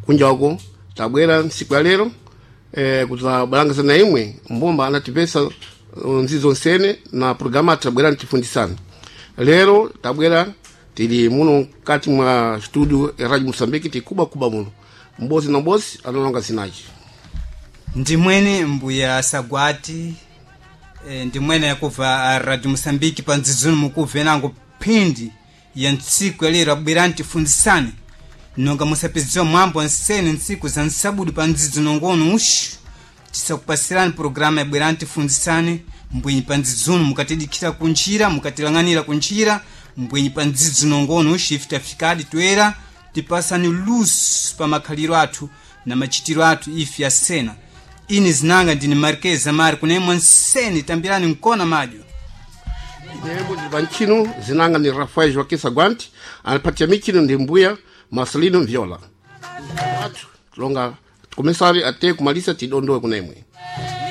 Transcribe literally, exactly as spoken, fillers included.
Kunja uko tabwera nsiku ya lero eh, kuzabalangisa na imwe mbumba anatipesa uh, nzizo nsene na programa tabwera ntifundisana. Lero tabwera tili muno kati mwa studio ya Radio Mosambiki, tikuba kuba muno mbozi na mbozi analonga zinaji. Ndimwene mbuya Sagwati, e, ndimwene yakubva a Radio Mosambiki pa ndzidzunu mukubve nango phindi ya ntsiku ya lero abwerani tifunzisane nonga musapedziwa mwambo nsene ntsiku za nsabudu pa ndzidzi nongono uxu tisakupasirani programa yabwerani tifunzisane mbwenyi pa ndzidzunu mukatidikhira kunjira, mukatilang'anira kunjira mbwenyi pa ndzidzi nongono uxu ife tafikadi toera tipasani luso pa makhaliro athu na machitiro athu ife asena. Ini zinanga ndini Marquez Amari kunemwa nsene tambirani nkona madyo. Nembo ndili pa ntchino zinanga ni Rafael Joaquim Sagwanti, anapatia michino ndi mbuya Marcelino Viola. Athu tulonga tikomesari ate kumalisa tidondowe kunemwe.